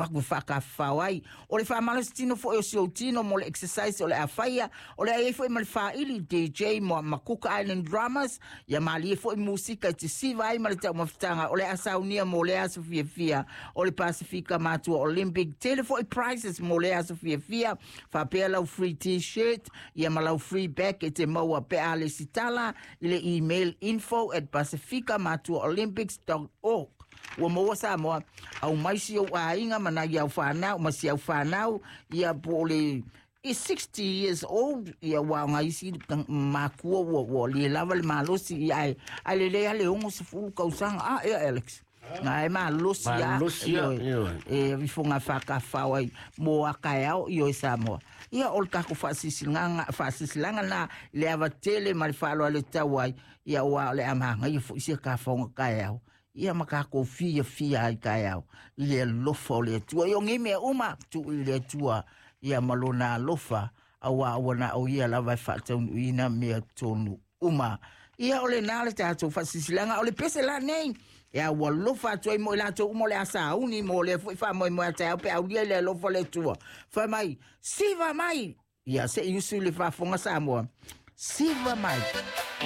avatu e faatafafao ai. O le faamalositino foi o si ou tino mo le exercise o le a faia, o le a i ai foi ma le faaili DJ ma Cook Island Drummers, ia malie foi musika e te siva ai ma le taumafataga o le a saunia mo lea aso fiafia o le Pasifika Matua Olympic. Tele foi prizes mo lea aso fiafia, faapea lau free t-shirt, ia ma lau free bag e te maua pe a lesitala i le email info@pasifikamatuaolympics.org. Ua maua Samoa, aumai si ou aiga ma nai au fanau, ma si au fanau, ia po o le i 60 years old, ia ua o isi makua ua le lava le malosi, ia ai lelei lava le 60 tausaga. A, ea Alex? Na e malosi a. Malosi a, ioe. E ifoga faatafafao ai mo a taeao i oe Samoa. Ia o le tatou faasisilanga na le ava tele ma le faaaloalo e tau ai, ia ua o le a magaia foi sia tafaoga taeao. Ia ma tatou fiafia ai taeao i le alofa o le Atua. Ia o nei mea uma tuu i le Atua ia ma lona alofa, auā ua na o ia lava e faataunuuina mea tonu uma. Ia o lena le tatou faasisilanga o le pese la nei. Ia ua alofa atu ai mo i latou uma o le a sauni mo lea foi faamoemoe a taeao pe aulia i le alofa o le Atua. Fai mai, siva mai! Ia se i usu i le faafofoga Samoa. Siva mai!